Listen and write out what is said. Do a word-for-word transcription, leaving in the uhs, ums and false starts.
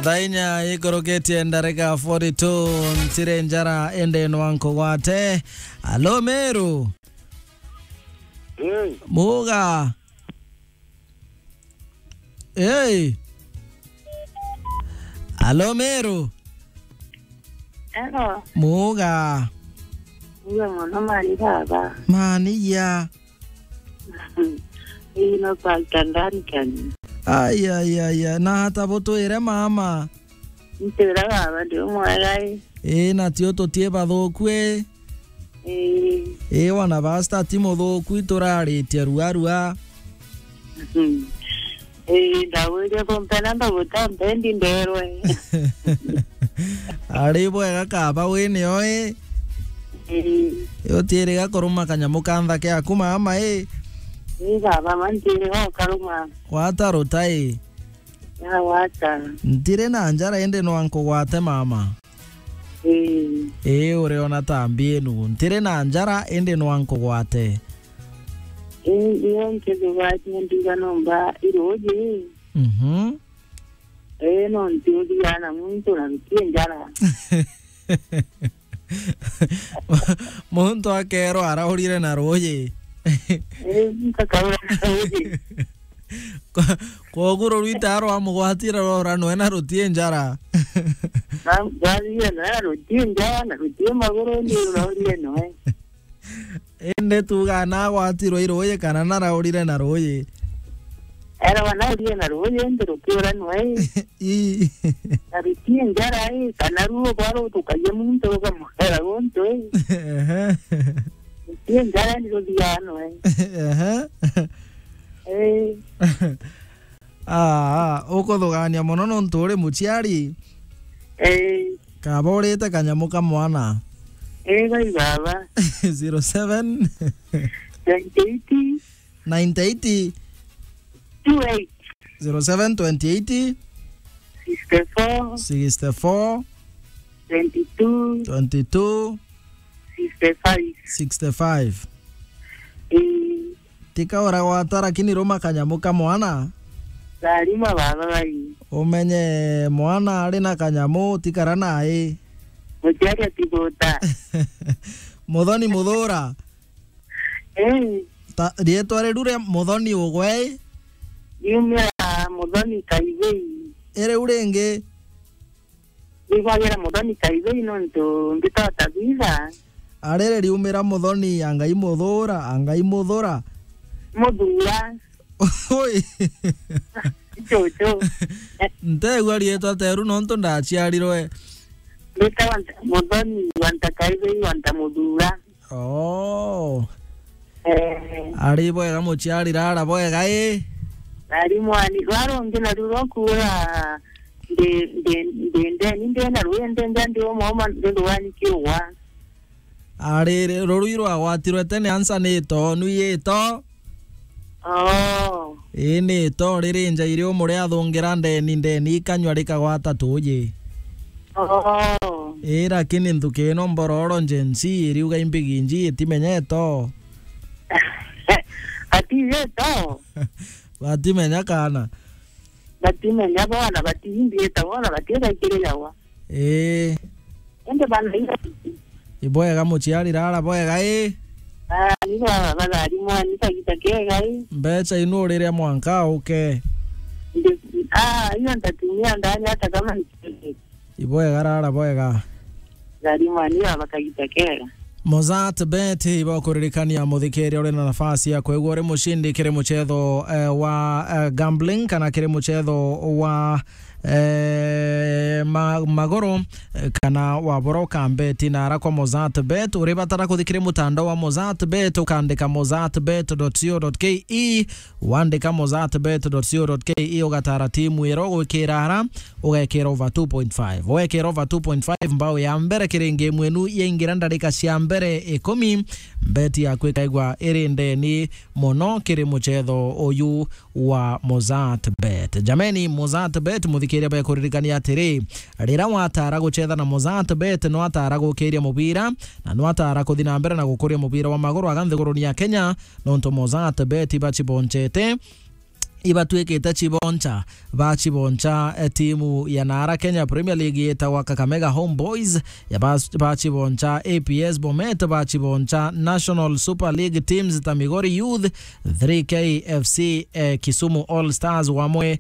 Thaa inya ikoroketie ndarika forty-two, ntire njara ende no ankogwate. Alo Meru. Hey. Muga. Hey. Alo Meru. Hello. Muga. Muga mono mani baba. Mani ya. Ino Pastor Duncan. Ai, ai, ai, ai. Na hata butwire mama. Ntwira baba ndi umwega i. Ii, na tio tutie bathuku i. Ii. Ii, wana basta ti muthuku, ituraritie rua rua. Ii, ndagwirie kumpena mbaguta mpendi nderwe. Ari bwega kaba wini oi. Ii. Utiiriga kuruma kanyamu ka nthake aku mama i. Ii, baba, ma ntiiriga ukaruma. Gwata rutai. Yawata. Ntiri na njara indi no ankugwate mama. Ii. Ii, uriona ta mbi inu. Ntiri na njara indi no ankugwate. Ii, iyo nkithugwate ndiga nomba iruji. Mhm. Ii, no ntiuthigana muntu na ntie njara. Muntu akerwa araurire na ruuji. Ii, nkakaura na ruuji. Kwa-, kwogu rurwita arwa mugwatire rora nwe na rutie njara. Na, rwathire na rutie njara, na rutie maguru, ni rwaurire nwe. Indi tuga na agwatirwe i ruuji kana naraurire na ruuji? Erwa naurire na ruuji, indi rukiura nwe. Ii. Na rutie njara, ii, kana ruo bwa rutukagia muntu rukamwera guntu, ii. Ehe. Rutie njara, ni ruthiaga nwe. Ehe. Ii. Aa, ukuthugania mono nontu uri muciari. Ii. Kaba urite kanyamu ka mwana. Ii, gai baba. Zero seven. Twenty eight. Ninety eight. Two eight. Zero seven twenty eight. Sixty four. Sixty four. Twenty two. Twenty two. Sixty five. Sixty five. Ii. Tika uragwata, lakini ruma kanyamu ka mwana. Larima baba bai. Umenye mwana ari na kanyamu, tikara nae. Muciari atiguta. Muthoni Muthura. Ii. Ta, riitwa riu ria Muthoni ugwe? Riumira Muthoni Kaibei. Iriu ringi? Rigwagira Muthoni Kaibei nontu mbitagwa Tabitha. Arere riumira Muthoni, a Ngai Muthura, a Ngai Muthura. Muthura. Ui. Cucu. Ntegua riitwa teru nontu ndaciarirwe. Mbitagwa Nta-, Muthoni wa Nta Kaibei wa Nta Muthura. Oh. Eh. Ari bwega muciari rara bwega i? Ari mwani, rwa rungi naru rwa kuura ndi, ndi, ndi ndeni, ndi na rui, ndi nja, ndi umwe umwe, ndi rwani kiugwa. Ari rurui rwagwatirwe tene ansa ni to, nu i to? Oh. Ii, ni to riri nja iri umuri athungira ndeni, ndeni ikanywa rikagwata tuuji. Oh. Ii, lakini nthuki ino mbororo Gen Z iriuga imbigi nji itimenya ito. Batiiji ito. Batimenya kana. Batimenya bona, batiimbi ita bona, batigaikirijawa. Ii. Indi bana ira. Ibwega muciari rara bwega i? Ah, ni baba bathari mwani kagita kega i? Mbeca inu uriria mwanka uke. Ndi-, ah, iyo ntatumia ndani hata kama ni. Ibwega rara bwega. Thari mwani baba kagita kega. Mozart Bet ibakuririkania muthikiria uri na nafasi ya kwigua uri mucindi kiri mucetho, eh, wa, eh, gambling kana kiri mucetho wa eh, ma-, magoro, eh, kana wabora ukambeti nara kwa Mozart Bet. Uribatara kuthi kiri mutandao wa Mozart Bet, ukandika mozart bet dot co dot ke, wandika mozart bet dot co dot ke, ugatara timu ira ugwikira ara, ugekira over two point five. Ugekira over two point five mbao ya mbere kiri ngemu inu yaingira ndarika cia mbere ikumi, bet yaku ikaigwa iri ndeni mono kiri mucetho uyu wa Mozart Bet. Jameni, Mozart Bet, muthikiria, bekuririkania atiri, rira watara gucetha na Mozart Bet, no atara gukiria mubira, na no atara kuthi na mbere na gukuria mubira wa maguru aga nthiguruni ya Kenya, nontu Mozart Bet ibacibonchete. ibatwikite chiboncha. Bachiboncha, eh, timu ya nara Kenya Premier League yetagwa Kakamega Homeboys, ya bas-, bachiboncha A P S Bomet, bachiboncha National Super League teams ta Migori Youth, three K F C, eh, Kisumu All Stars wamwe